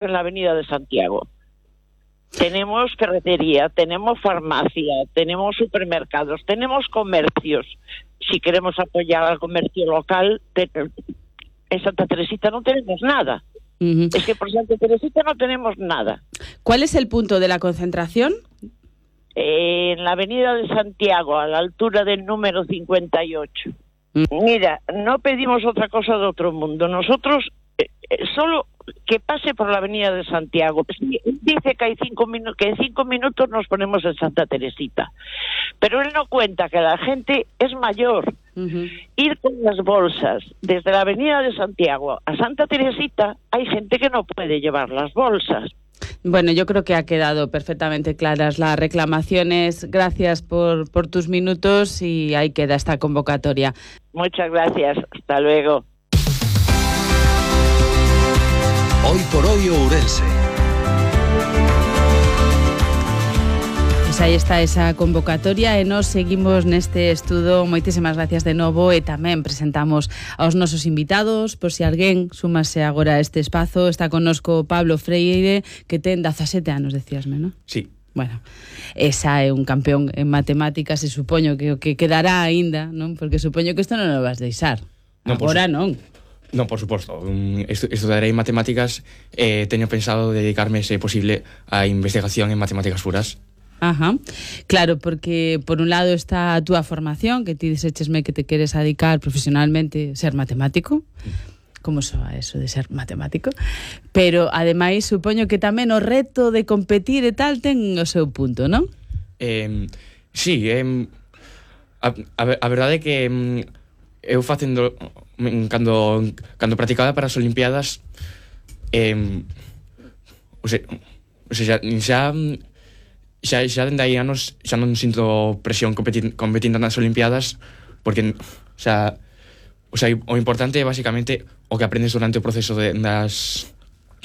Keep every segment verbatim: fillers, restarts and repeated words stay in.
en la Avenida de Santiago. Tenemos ferretería, tenemos farmacia, tenemos supermercados, tenemos comercios. Si queremos apoyar al comercio local, te, en Santa Teresita no tenemos nada. Uh-huh. Es que por Santa Teresita no tenemos nada. ¿Cuál es el punto de la concentración? Eh, en la Avenida de Santiago, a la altura del número cincuenta y ocho. Uh-huh. Mira, no pedimos otra cosa de otro mundo. Nosotros eh, solo que pase por la Avenida de Santiago. Dice que hay cinco minutos, que en cinco minutos nos ponemos en Santa Teresita. Pero él no cuenta que la gente es mayor. Uh-huh. Ir con las bolsas desde la Avenida de Santiago a Santa Teresita, hay gente que no puede llevar las bolsas. Bueno, yo creo que ha quedado perfectamente claras las reclamaciones. Gracias por, por tus minutos y ahí queda esta convocatoria. Muchas gracias. Hasta luego. Hoy por hoy Ourense. Pues aí está esa convocatoria e nos seguimos neste estudo. Moitísimas gracias de novo e tamén presentamos aos nosos invitados. Por si alguén súmase agora a este espazo, está connosco Pablo Freire, que ten dezasete anos, decíasme, non? Sí. Bueno, esa é un campeón en matemáticas e supoño que o que quedará aínda, non? Porque supoño que isto non o vas deixar. Non, agora por... non. Non, por suposto. Estudarei matemáticas e eh, teño pensado dedicarme, se posible, a investigación en matemáticas puras. Ajá, claro, porque por un lado está a túa formación, que ti dixéchesme que te queres dedicar profesionalmente ser matemático, como soa eso de ser matemático, pero ademais supoño que tamén o reto de competir e tal ten o seu punto, non? Eh, sí, eh, a, a, a verdade é que eh, eu facendo cando, cando practicaba para as Olimpiadas eh, o sea, o sea, xa xa, xa dende aí anos xa non sinto presión competindo, competindo nas Olimpiadas porque xa, o, sea, o importante é basicamente o que aprendes durante o proceso de, das,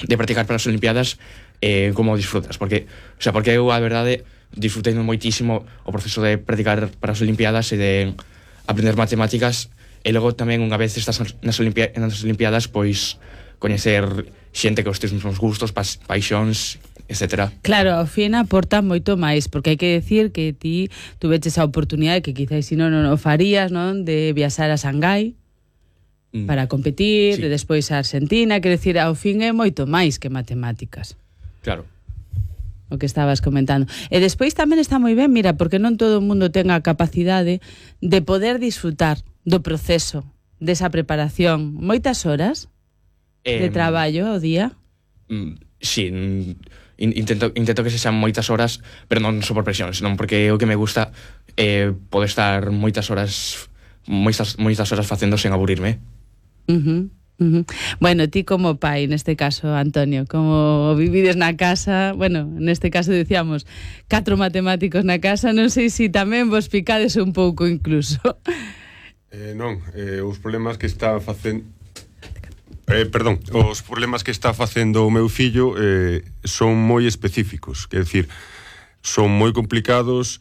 de practicar para as Olimpiadas eh, como disfrutas porque, o sea, porque eu a verdade disfrutei moitísimo o proceso de practicar para as Olimpiadas e de aprender matemáticas e logo tamén unha vez estás nas, Olimpia, nas Olimpiadas pois coñecer xente que os teus mesmos gustos, pas, paixóns, etcétera. Claro, ao fin aporta moito máis, porque hai que decir que ti tuveches a oportunidade que quizás si non non o farías, non, de viaxar a Xangai mm. para competir, sí. De despois a Argentina, quer decir, ao fin é moito máis que matemáticas. Claro. O que estabas comentando. E despois tamén está moi ben, mira, porque non todo o mundo ten a capacidade de poder disfrutar do proceso, desa preparación. Moitas horas eh, de traballo ao día? Mm, sí, intento, intento que se sean moitas horas, pero non só por presión, senón porque o que me gusta é eh, poder estar moitas horas moitas, moitas horas facendo sen aburrirme. Uh-huh. Uh-huh. Bueno, ti como pai, neste caso, Antonio, como vivides na casa, bueno, neste caso decíamos catro matemáticos na casa, non sei se si tamén vos picades un pouco incluso. Eh, non, eh, os problemas que está facendo eh, perdón, os problemas que está facendo o meu fillo eh, son moi específicos, quer decir, son moi complicados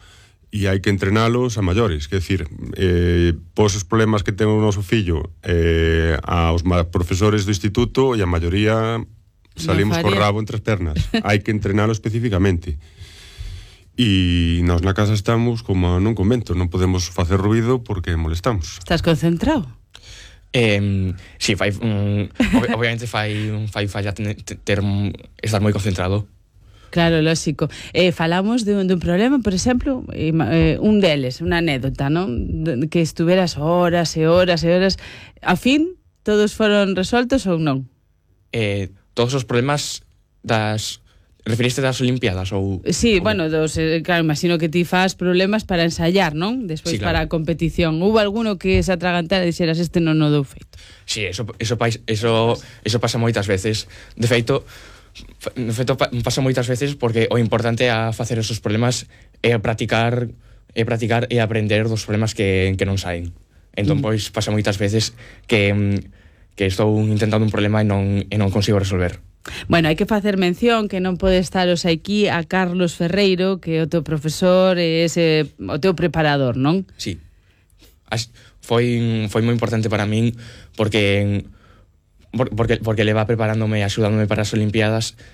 e hai que entrenalos a maiores, quer decir, eh, pos os problemas que ten o noso fillo eh, aos profesores do instituto e a maioría salimos no co rabo entre as pernas, hai que entrenalo especificamente. E nós na casa estamos como nun convento, non podemos facer ruido porque molestamos. Estás concentrado? Eh, sí, fai, um, obviamente fai, fai falla ter, ter, estar moi concentrado. Claro, lógico. Eh, falamos de un, de un problema, por exemplo, eh, un deles, unha anécdota, non? Que estuveras horas e horas e horas. A fin, todos foron resoltos ou non? Eh, todos os problemas das... Referiste das Olimpiadas ou... Sí, ou... bueno, dos, eh, claro, imagino que ti fas problemas para ensayar, non? Despois sí, claro. Para a competición. Hubo alguno que se atragantara e dixeras este non o dou feito? Sí, eso, eso, eso, eso pasa moitas veces. De feito, de feito pasa moitas veces porque o importante a facer esos problemas é practicar, é practicar e aprender dos problemas que, que non saen. Entón, mm. pois, pasa moitas veces que, que estou intentando un problema e non, e non consigo resolver. Bueno, hai que facer mención que non pode estar os aquí a Carlos Ferreiro, que é o teu profesor e ese, o teu preparador, non? Sí. As, foi, foi moi importante para min porque por, porque, porque le va preparándome e axudándome para as Olimpiadas